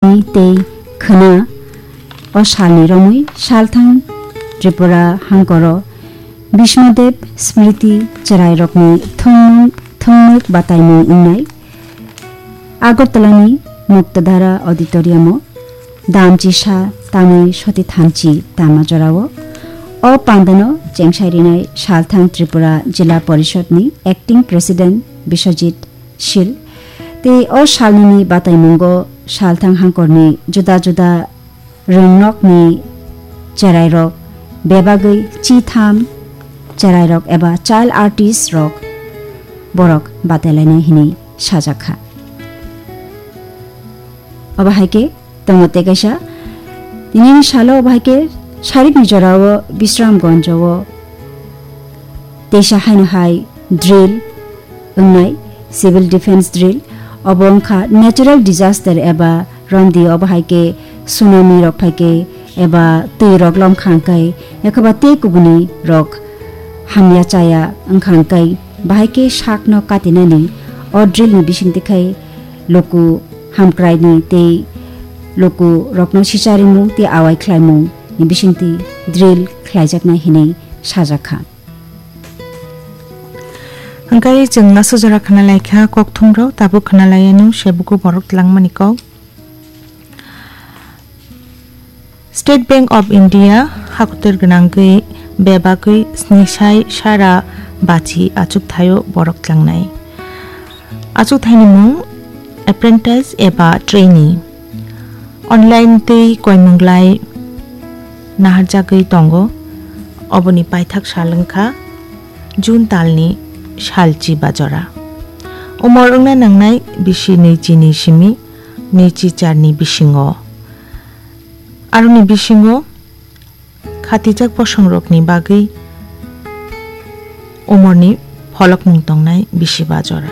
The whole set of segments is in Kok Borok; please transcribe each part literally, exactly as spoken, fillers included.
tei khwna o salni romwi salthang Tripura hangkoro Bishmadev Smriti chwrairokni thwngmung-, thwngmwk bataimung wngnai Agartalani Muktadhara Auditoriumo damchisa tamwi soti thanchi tama jorao o pandano chengsai rinai salthang Tripura Jila Porishodni Acting President Biswajit Sil. Tei o salnini bataimungo salthang hangkorni juda juda rwngnokni cherairok bebagwi chitham cherairok eba child artist rok borok batailainai hinwi sajakha. Obo hai khe tongo tei kaisa. Tinini salo obo hai khe sarikni jorao Bisramganjo o teisa haino hai drill wngnai, civil defense drill. Obo wngkha natural disaster eba romdi obo hai khe tsunami rok phai khe eba twi rok lomkha hwnkhe, yakhoba tei kubuni rok hamya chaya wngkha hwnkhe, bahai khe sakno katinani o drill ni bisingtwi khai luku hamkraini tei luku rokno sicharimung tei awai khlaimung ni bisingtwi drill khlaijaknai hinwi sajakha. Hwnkhe chwng aswk jora khna laikha kokthumrok, tabuk khna laianw sebuku borok twlangmani kok. State Bank of India hakotor gwnangwi bebagwi snisai sara bachi achukthaio borok tlangnai. Achukthaini mung apprentice eba trainee. Online tei koimunglai naharjagwi tongo. Oboni paithak sal wngkha June talni salchi bajora. Umor wngna nangnai bisi nwichi ni simi nwichi charni bisingo. Aroni bisingo khatijak bosongrokni bagwi umorni pholokmung tongnai bisi bajora.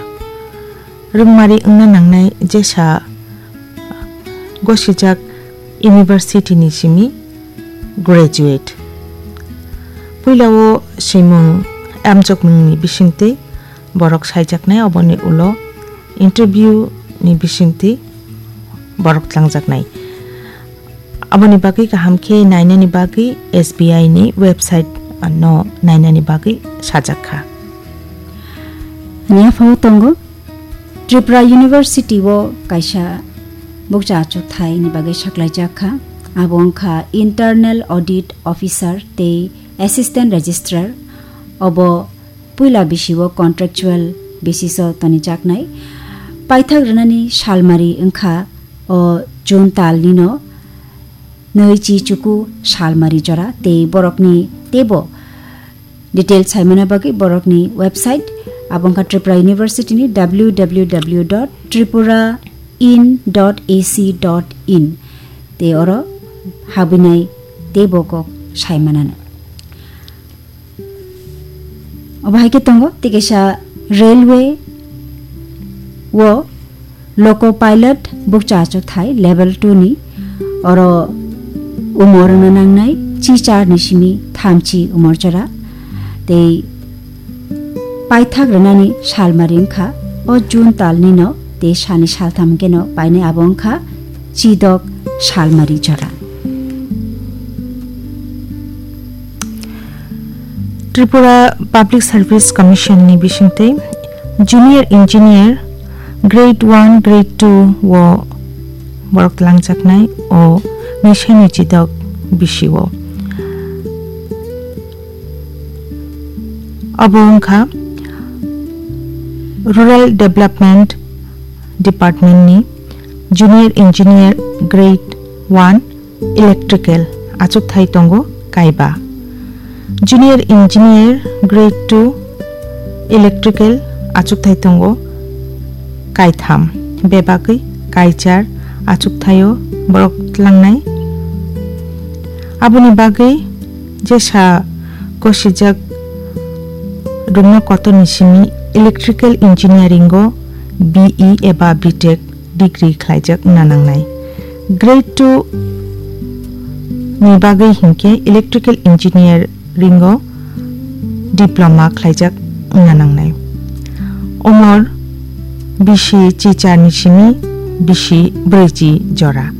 Rwngmari wngna nangnai jesa gosijak university ni simi graduate. Puila o swimung amjokmungni bisingtwi borok saijaknai, oboni ulo interview ni bisingtwi borok tlangjaknai. Aboni bagwi kaham khe nainani bagwi S B I ni website no nainani bagwi sajak kha. Niya phao tongo Tripura University o kaisa bukcha achukthai ni bagwi saklaijak kha. Abo wngkha Internal Audit Officer tei Assistant Registrar. Obo puila bisi o contractual basis o tonijaknai. Paithak rwnani salmari wngkha o June talni no nwi chi chuku salmari jora tei borokni teibo detail saimana bagwi borokni website abo wngkha Tripura University ni W W W dot tripura in dot A C dot in tei oro habwinai teibo kok saimanano. Obo hai khe tongo tei kaisa railway o loco pilot bukcha achukthai level two ni, oro umor wngna nangnai chi char ni simi thamchi umor jora tei paithak rwnani salmari wngkha o June talni no tei sani saltham hwnkhe no painai abo wngkha chidok salmari jora. Tripura Public Service Commission ni bisingtwi Junior Engineer grade one, grade two o borok tlangjaknai o nwisaini chidok bisi o. Obo wngkha Rural Development Department ni Junior Engineer grade one Electrical achukthai tongo kaiba. Junior Engineer grade two Electrical achukthai tongo kaitham, bebagwi kaichar achukthaio borok tlangnai. Aboni bagwi jesa gosijak rwngma kotorni simi Electrical Engineering o B E eba B Tech degree khlaijak wngna nangnai. Grade two ni bagwi hinkhe Electrical Engineering o diploma khlaijak wngna nangnai. Umor bisi chichar ni simi bisi brwichi jora.